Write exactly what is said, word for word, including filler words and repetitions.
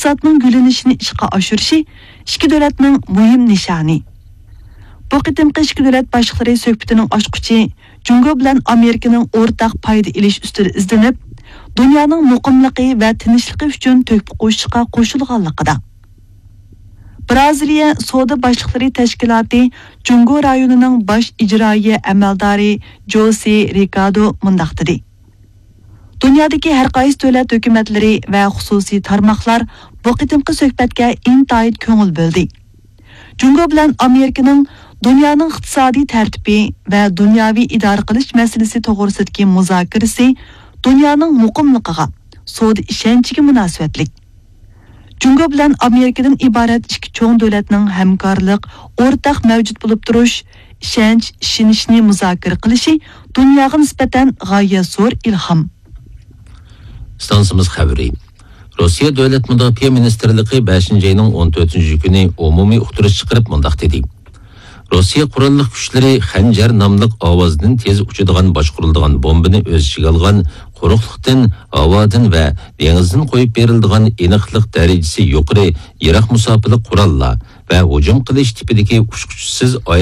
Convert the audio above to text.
ئىقتىسادنىڭ گۈللىنىشىنى ئىشقا ئاشۇرۇشى ئىككى دۆلەتنىڭ مۇھىم نىشانى. بۇ قېتىمقى ئىككى دۆلەت باشلىقلىرى سۆھبىتىنىڭ ئاچقۇچى جۇڭگو بىلەن ئامېرىكىنىڭ ئورتاق پايدا ئېلىش ئۈستىدە ئىزدىنىپ، دۇنيانىڭ مۇقىملىقى ۋە تىنچلىقى ئۈچۈن تۆھپە قوشۇشقا قوشۇلغانلىقىدا. بىرازىلىيە سودا باشلىقلىرى تەشكىلاتى جۇڭگو رايونىنىڭ باش ئىجرائىيە ئەمەلدارى جوسى رىكادو مۇنداق دېدى: دۇنيادىكى ھەر قايسى دۆلەت ھۆكۈمەتلىرى ۋە خۇسۇسىي تارماقلار بۇ قېتىمقى سۆھبەتكە ئىنتايىن كۆڭۈل بۆلدى. جۇڭگو بىلەن ئامېرىكىنىڭ دۇنيانىڭ ئىقتىسادىي تەرتىپى ۋە دۇنياۋى ئىدارە قىلىش مەسىلىسى توغرىسىدىكى مۇزاكىرىسى دۇنيانىڭ مۇقىملىقىغا، سودا ئىشەنچىگە مۇناسىۋەتلىك. جۇڭگو بىلەن ئامېرىكىدىن ئىبارەت ئىككى چوڭ دۆلەتنىڭ ھەمكارلىق، ئورتاق مەۋجۇت بولۇپ تۇرۇش، ئىشەنچ، ئىشىنىشنى مۇزاكىرە قىلىشى دۇنياغا نىسبەتەن غايەت زور ئىلھام. ئىستانسىمىز خەۋىرى. روسىيە دۆلەت مۇداپىئە مىنىستىرلىقى بەشىنچى ئاينىڭ ئون تۆتىنچى كۈنى ئومۇمىي ئۇقتۇرۇش چىقىرىپ مۇنداق دېدى: روسىيە قوراللىق كۈچلىرى خەنجەر ناملىق ئاۋازدىن تېز ئۇچىدىغان باشقۇرۇلىدىغان بومبىنى ئۆز ئىچىگە ئالغان قۇرۇقلۇقتىن، ھاۋادىن ۋە دېڭىزدىن قويۇپ بېرىلىدىغان ئېنىقلىق دەرىجىسى يۇقىرى يىراق مۇساپىلىق قوراللار ۋە ھۇجۇم قىلىش تىپىدىكى ئۇچقۇچىسىز